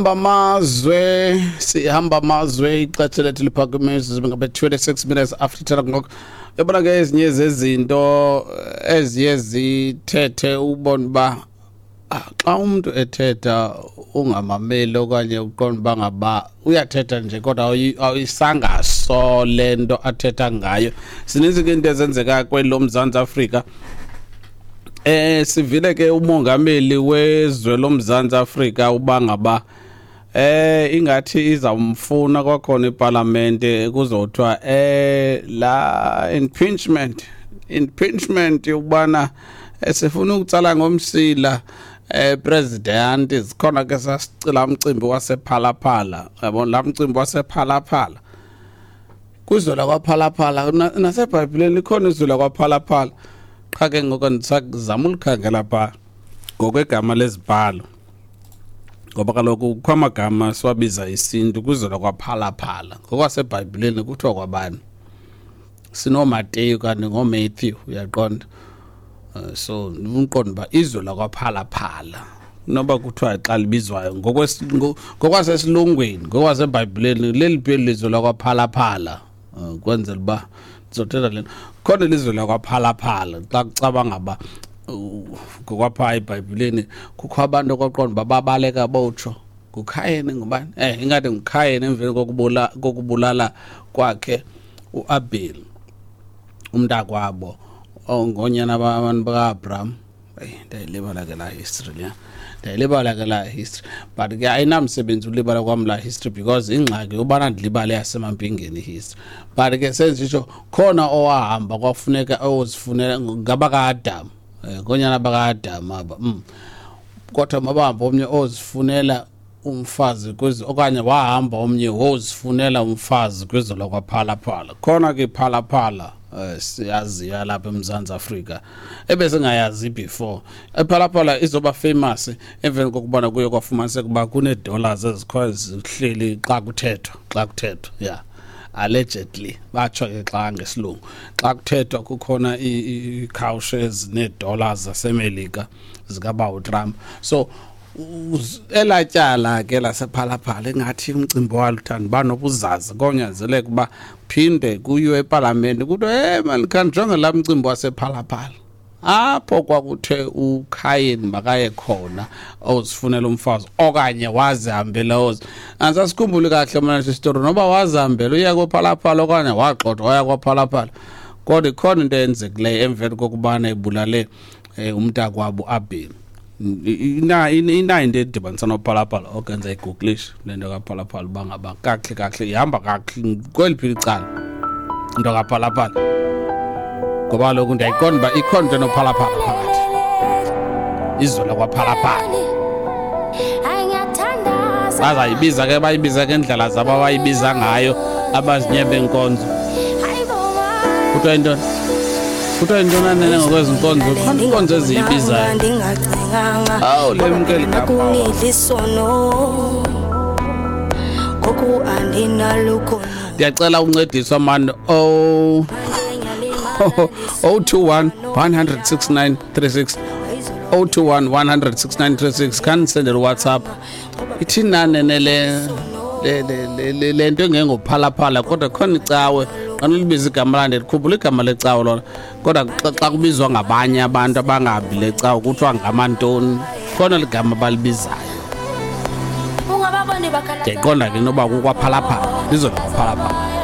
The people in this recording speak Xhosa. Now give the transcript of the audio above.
Sihamba amazwe, sihamba amazwe. Ixesha lethu liphakame ngabe 26 minutes after 10 ngoku. Yabona ke, ezinye zezinto eziye zithethe, ubone uba xa umuntu ethetha ungamameli okanye uqonda uba ngaba uyathetha nje, kodwa ayisangaso le nto athetha ngayo. Zininzi ke into ezenzeka kweli loMzantsi Afrika. Sivile ke umongameli wezwe loMzantsi Afrika uba ngaba ingathi izawumfuna kwakhona ipalamente, kuzothiwa la impeachment ukubana sifuna ukutsala ngomsila president. Zikhona ke sasicila umcimbi wasePhalaphala, yabona la mcimbi wasePhalaphala, kwizwe lakwaPhalaphala. Nasebhayibhileni likhona izwe lakwaPhalaphala, qha ke ngoku ndisazama ulikhangela phaa ngokwegama lezibhalo, ngoba kaloku kukho amagama siwabiza isintu. Kwizwe lakwaPhalaphala ngokwasebhayibhileni kuthiwa kwabani? SinoMateyu kanti ngoMatthew, uyaqonda? So uqonda uba izwe lakwaPhalaphala noba kuthiwa xa libizwayo ngokwasesilungwini, ngokwasebhayibhileni leliphi eli lizwe lakwaPhalaphala? Kwenzela uba ndizothetha le nto, khona ilizwe lakwaPhalaphala xa kucaba ngaba ngokwaphaa ebhayibhileni kukho abantu okwaqonda uba babaleka botsho nguKhayeni, ngubani, ingathi nguKhayeni, emveni kokubulala kwakhe uAbel umntakwabo ongonyana abantu baka-Abraham. Eyi, ndiyayilibala ke laa history leya, ndiyayilibala ke laa history, but ke ayinamsebenzi ulibala kwam laa history, because ingxaki ubana ndilibale yasemampingeni history. But ke senzitsho, khona owahamba kwafuneka ozifunela ngabaka-Adam, ngonyana baka-Adam aba. Kodwa mabahamba omnye ozifunela umfazi kwezi, okanye wahamba omnye wozifunela umfazi kwizwe lakwaPhalaphala. Khona ke iPhalaphala siyaziyo lapha eMzantsi Afrika ebesingayazi before. IPhalaphala izoba famous emveni kokubana kuye kwafumaniseka uba kunee-dollars ezikhoyo zihleli xa kuthethwa, yeah, allegedly batsho ke xa ngesilungu xa kuthethwa kukhona iikhawushe ezinee-dollars zaseMelika zikabawo Trump. So elaa tyala ke lasePhalaphala ingathi umcimbi walo uthanda uba nobuzaza, konyanzeleka uba phinde kuyiwe epalamente, kuthiwe, hey man, khanijonge laa mcimbi wasePhalaphala apho kwakuthe uKhayeni makaye khona ozifunela umfazi okanye wazihambela ozi. Andisasikhumbuli kahle mna sistory noba wazihambela uya koPhalaphala okanye waxothwa waya kwaPhalaphala, kodwa ikhona into eyenzekileyo emveni kokubana ebulale umntakwabo Abel. Inayo into edibanisa noPhalaphala okenza igooglishe le nto kaPhalaphala uba ngaba kakuhle kakuhle ihamba kakuhle kweliphi icala into kaPhalaphala, ngoba kaloku ndiyayiqonda uba ikhona into enophalaphala phakathi, izwe lakwaPhalaphala. Bazayibiza ke, bayibiza ke indlela zabo abayibiza ngayo abazinye benkonzo. Kuthiwa yintoni? Kuthiwa yintoni anene ngokwezi nkonzo? Khona inkonzo eziyibizayo. Awu, lemkeli gama. Kunidlisono ngoku andinalukho. Ndiyacela uncediswa mani, o 021 100 6936, 021 100 6936. Khanisendele uWhatsApp, ithini nanene le nto engengophalaphala? Kodwa khona icawe xa nilibiza igama lande, ndikhumbula igama lecawe lona, kodwa xa kubizwa ngabanye abantu abangahambi le cawe kuthiwa ngamantoni? Khona ligama abalibizayo. Ungababoni bakhala. Ndiyayiqonda ke noba kukwaphalaphala, lizwe lakwaPhalaphala.